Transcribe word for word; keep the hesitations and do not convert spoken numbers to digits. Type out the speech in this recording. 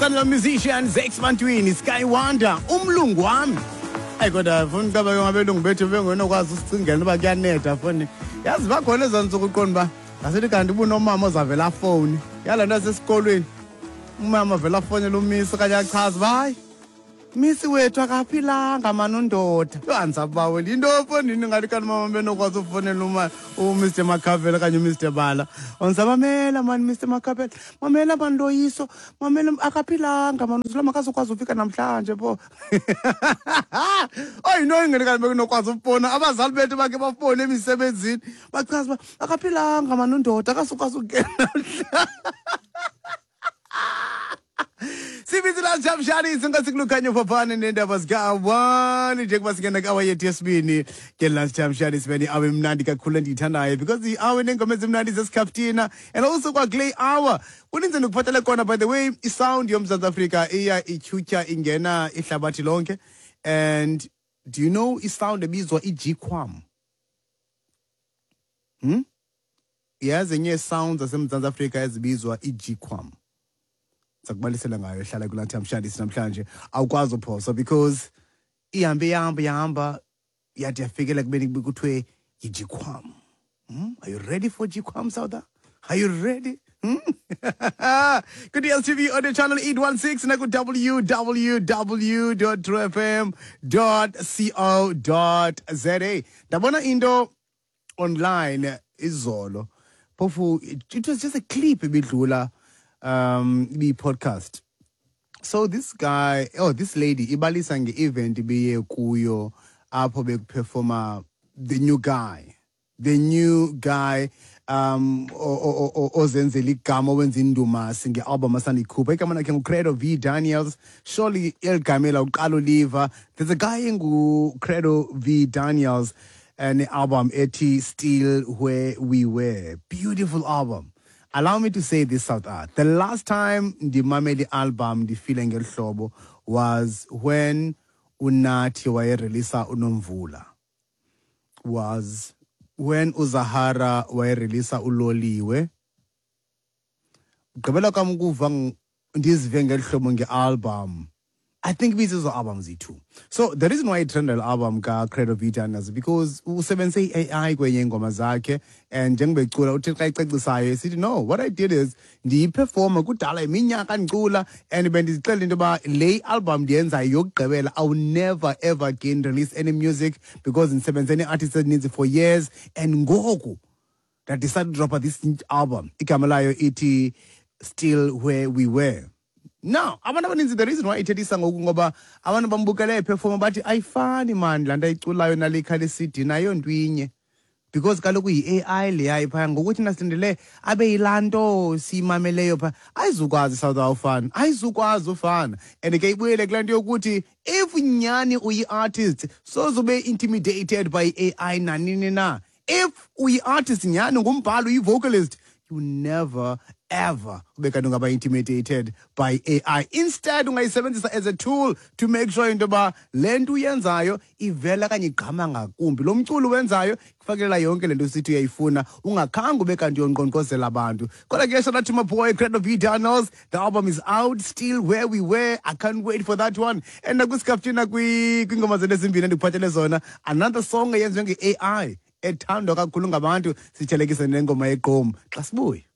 Standard musician Zex Bantwini, Sky Wonder, umlungu wami. Ayi kodwa funa ucaba ke ngabelungu bethu bengenokwazi usicingela uba kuyanetha foni. Yazi bakhona ezaa ntsuku uqonda uba ngasithi kanti ubunomama ozavela afowuni. Yalaa nto yasesikolweni. Umama avela afowunele umisi okanye achaze uba hayi misi wethu akaphilanga mani undoda. Yho, andisabaweli yinto efondini ngathi kanti mama benokwazi ufowunela uma uMr Makhavela okanye uMr Bala. Ondisamamela mani Mr Makhavela, mamela mani Loyiso, mamela akaphilanga mani uzula makazokwazi ufika namhlanje pho. Oyi yinto ingeni kanti bekunokwazi ufowuna abazali bethu bakhe bafowune emisebenzini bachaze uba akaphilanga mani undoda akazukwazi ukungena namhlanje. Sibizi la Jamshani singasikulukhanya phaphane nendaba zika-one njengoba singena ku-hour yethu yesibini ke lunch time shani sibeni awe mnandi kakhulu endiyithandayo because i-hour neengoma ezimnandi zesikhaftina and also kwakule hour kuninzi ndikuphathele kona. By the way, isound yoMzantsi Afrika iya ityhutyha ingena ihlabathi lonke. And do you know isound ebizwa i-gqom? Hmm? Yazi enye sounds zaseMzantsi Afrika ezibizwa i-gqom. Sakubalisela ngayo ehlala kulaa Mshandisi namhlanje awukwazi uphosa because ihambe ihamba ihamba yade yafikela kubeni kuthiwe yi-gqom. Hmm? Are you ready for gqom, South? Are you ready? Hmm? Ku-D S T V on the channel eight one six naku w w w dot true f m dot co dot za. Ndabona into online izolo phofu it was just a clip ebidlula um i-podcast. So this guy, oh this lady ibalisa nge-event ibiye kuyo apho bekuperforma the new guy the new guy um ozenzela igama owenza indumasi nge-album asandiyikhupha. Igama lakhe nguCredo V Daniels. Surely eli gama uqala uliva. There's a guy enguCredo V Daniels ne-album ethi Still Where We Were. Beautiful album. Allow me to say this, South Art. The last time ndimamele i-album ndifile ngeli hlobo was when uNathi wayereleasa uNomvula. Was when uZahara wayereleasa uLoliwe. Ugqibela kwam ukuva ndizive ngeli hlobo nge-album. I think ibizizo albums iyi-two. So the reason why itrended album kaCredo V Daniels because usebenzise i-A I kwenye iingoma zakhe and njengoba ecula uthi xa ecacisayo esithi, "No, what I did is ndiyiperforma kudala iminyaka ndicula and bendizixelela into yoba le album ndiyenzayo yokugqibela. I will never ever again release any music because ndisebenze nee-artists ezininzi for years and ngoku nda-decide to drop this album." Igama layo ithi Still Where We Were. Now, abantu abaninzi, the reason why ithethisa ngoku ngoba abantu bambukele eperforma bathi ayifani man laa nto ayiculayo nale ikhale C D nayo nto inye because kaloku yi-A I leya phaya. Ngokuthi nasilindele abe yilaa nto siyimameleyo phaa ayizukwazi South awufana ayizukwazi ufana. And ke ibuyele kulaa nto yokuthi if nyani uyi-artist soze ube intimidated by A I nanini na. If uyi-artist nyani, ngumbhali, uyi-vocalist, you never ever ube kanti ungaba intimidated by A I. Instead ungayisebenzisa as a tool to make sure into yoba le nto uyenzayo ivela okanye igqama ngakumbi, lo mculo uwenzayo kufakelela yonke le nto sithi uyayifuna ungakhange ube kanti uyonqonqozela abantu. Kodwa ke shout out to my boy Credo V Daniels. The album is out, Still Where We Were. I can't wait for that one. And nakwisikaftina kwiingoma zethu ezimbini endikuphathele zona, another song eyenziwe nge-A I ethandwa kakhulu ngabantu, sithelekise nengoma yeqom xa sibuye.